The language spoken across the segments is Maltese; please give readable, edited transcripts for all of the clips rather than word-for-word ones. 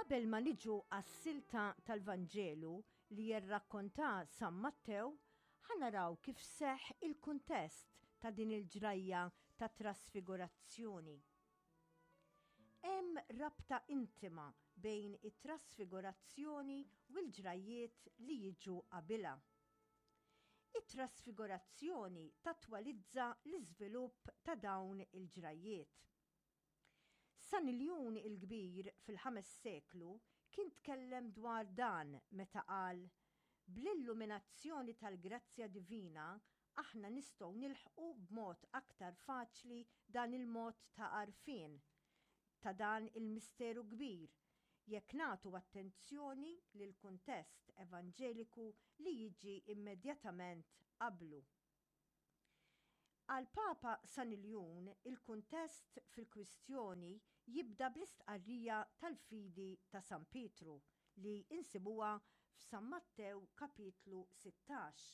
Qabel ma niġu għas-silta tal-Vanġelu li jirrakkonta San Mattew, ħa naraw kif seħħ il-kuntest ta' din il-ġrajja ta' trasfigurazzjoni. Hemm rabta intima bejn it-trasfigurazzjoni u l-ġrajjiet li jiġu qabilha. It-trasfigurazzjoni tattwalizza l-iżvilupp ta' dawn il-ġrajjiet. San Iljun il-Kbir fil-ħames seklu kien tkellem dwar dan meta qal, Bl-illuminazzjoni tal-grazzja divina aħna nistgħu nilħqu b'mod aktar faċli dan il-mod ta' għarfien ta' dan il-misteru kbir jekk nagħtu attenzjoni lill-kuntest evanġeliku li jiġi immedjatament qablu. Għall-Papa San Iljun, il-kuntest fil-kwistjoni jibda bl-istqarrija tal-fidi ta' San Pietru li insibuha f'San Mattew kapitlu 16.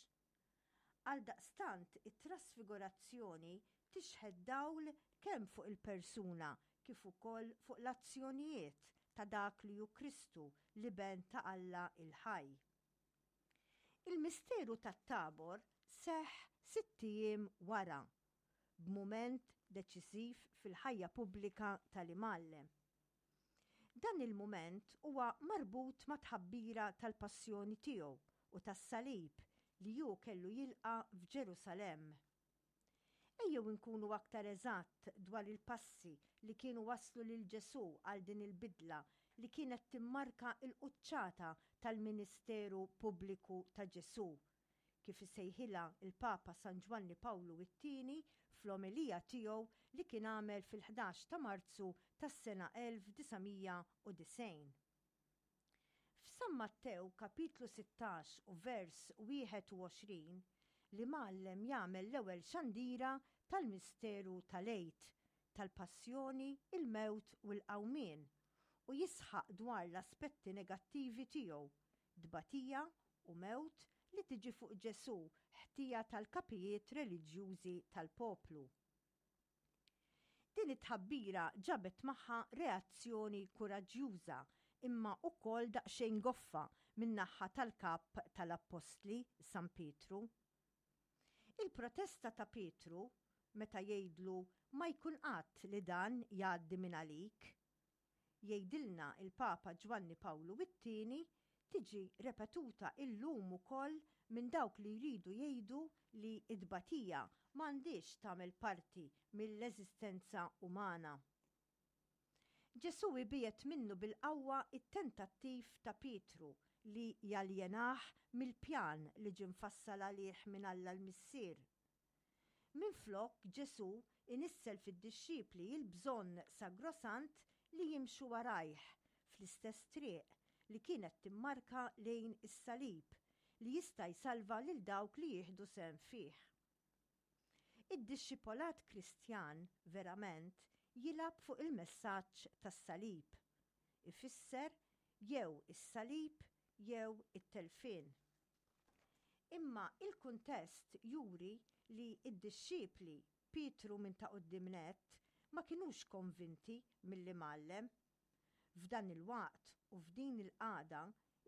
Għaldaqstant it-trasfigurazzjoni tixħet dawl kemm fuq il-persuna kif ukoll fuq l-azzjonijiet ta' dak li hu Kristu, l-Iben ta' Alla l-ħaj. Il-misteru tat-Tabor seħħ sitt ijiem wara, b'mument deċiżiv fil-ħajja pubblika tal-Imgħallem. Dan il-mument huwa marbut mat-tħabbira tal-passjoni tiegħu u tas-salib li hu kellu jilqa' f'Ġerusalemm. Ejjew inkunu aktar eżatt dwar il-passi li kienu wasslu lil Ġesù għal din il-bidla li kienet timmarka l-quċċata tal-ministeru pubbliku ta' Ġesù, kif isejħilha l-Papa San Ġwanni Pawlu it-Tieni fl-omelija tiegħu li kien għamel fil-ħdax ta' Marzu tas-sena 1990. F'San Mattew kapitlu 16 u vers 21, l-Imgħallem jagħmel l-ewwel xandira tal-misteru tal-Għid, tal-passjoni, il-mewt u l-qawmien, u jisħaq dwar l-aspetti negattivi tiegħu, tbatija u mewt li tiġi fuq Ġesù ħtija tal-kapijiet reliġjużi tal-poplu. Din it-tħabbira ġabet magħha reazzjoni kuraġġjuża imma wkoll daqsxejn goffa min-naħa tal-kap tal-appostli, San Pietru. Il-protesta ta' Pietru meta jgħidlu ma jkun qatt li dan jgħaddi minn għalik, jgħidilna l-Papa Ġwanni Pawlu it-Tieni, tiġi repetuta illum ukoll minn dawk li jridu jgħidu li t-tbatija m'għandhiex tagħmel parti mill-eżistenza umana. Ġesù ibiegħed minnu bil-qawwa t-tentattiv ta' Pietru li jaljenah mill-pjan li ġie mfassal għalih minn Alla l-Missier. Minflok, Ġesù inissel fid-dixxipli l-bżonn sagrosant li jimxu warajh fl-istess triq li kienet timmarka lejn is-salib li jista' jsalva lil dawk li jieħdu sehem fih. Id-dixxipolat Kristjan verament jilgħab fuq il-messaġġ tas-salib. Ifisser jew is-salib jew it-telfien. Imma il-kuntest juri li d-dixxipli, Pietru minn ta' quddiem nett, ma kinux konvinti mill-Imgħallem. F'dan il-waqt u f'din il-qagħda,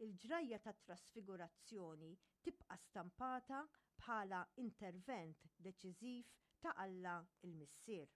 il-ġrajja tat-Trasfigurazzjoni tibqa' stampata bħala intervent deċiżiv ta' Alla l-Missier.